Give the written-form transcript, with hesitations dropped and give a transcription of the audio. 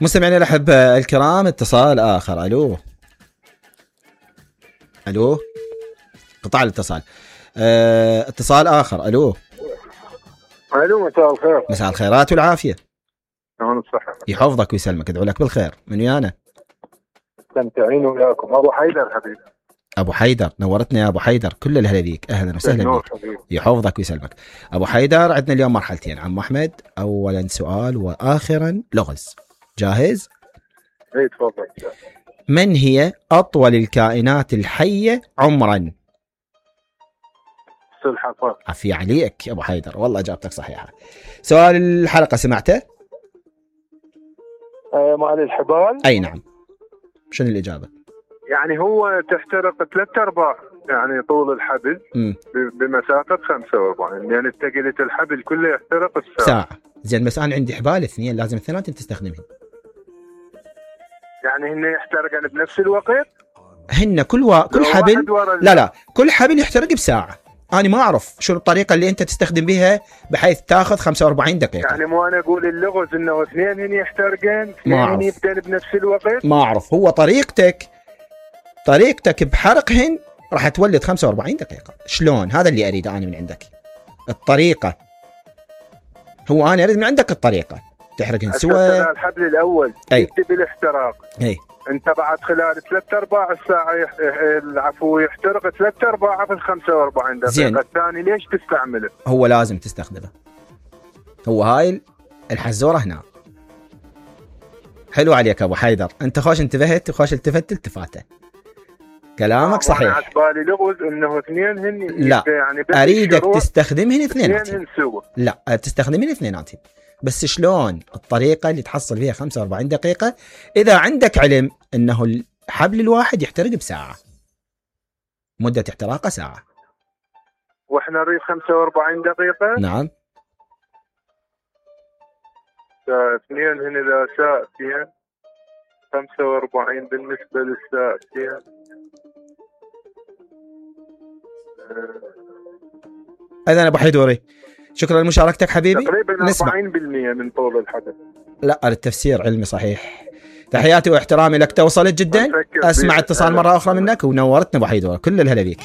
مستمعينا الأحبة الكرام، اتصال آخر. ألو قطع الاتصال. اتصال آخر. ألو مساء الخير. مساء الخيرات والعافية. نعم الصحة. يحفظك ويسلمك، ادعو لك بالخير. من ويانا؟ استمتعين وياكم أبو حيدر حبيبي. أبو حيدر، نورتنا يا أبو حيدر، كل الهلا بيك، أهلا وسهلا بك. يحفظك ويسلمك أبو حيدر. عندنا اليوم مرحلتين عم أحمد، أولا سؤال وآخرا لغز. جاهز؟ اي تفضل. من هي أطول الكائنات الحية عمرا؟ السلحفاة. عفي عليك يا أبو حيدر، والله إجابتك صحيحة. سؤال الحلقة سمعته؟ مال الحبال. أي نعم. شنو الإجابة؟ يعني هو تحترق 3/4 يعني طول الحبل بمسافة 45، يعني اتجلت الحبل كله يحترق ساعة. زين بس أنا عندي حبال اثنين، لازم الثنتين تستخدمهن. يعني هن يحترقن بنفس الوقت؟ هن كل حبل لا كل حبل يحترق بساعة. أنا ما أعرف شو الطريقة اللي أنت تستخدم بها بحيث تاخذ 45 دقيقة. يعني مو أنا أقول اللغز إنه اثنين هن يحترقن، اثنين يبدأن بنفس الوقت. ما أعرف، هو طريقتك بحرقهن راح تولد 45 دقيقة. شلون؟ هذا اللي أريد أنا من عندك الطريقة. هو أنا أريد من عندك الطريقة تحرقهن سوا. الحبل الأول يبدأ بالاحتراق. انت بعد خلال 3/4 الساعة العفو يحترق 3/4 في 45 دقيقة. زين. الثاني ليش تستعمله؟ هو لازم تستخدمه، هو هاي الحزورة هنا. حلو عليك أبو حيدر، أنت خوش انتبهت وخوش التفاته. كلامك صحيح. أنا عتبالي لغز إنه اثنين هن. لا يعني أريدك تستخدمهن اثنين سوا. لا تستخدمهن اثنيناتهم، بس شلون الطريقة اللي تحصل فيها 45 دقيقة إذا عندك علم أنه الحبل الواحد يحترق بساعة، مدة احتراقه ساعة، وإحنا نريد 45 دقيقة. نعم. اثنين هنا إذا ساعتين 45 بالنسبة للساعتين. إذن أبو حيدوري شكرا لمشاركتك حبيبي. تقريبا 40% من طول الحدث. لا التفسير علمي صحيح. تحياتي واحترامي لك، توصلت جدا. أسمع اتصال مرة أخرى منك ونورتنا أبو حيدوري، كل الهلا بيك.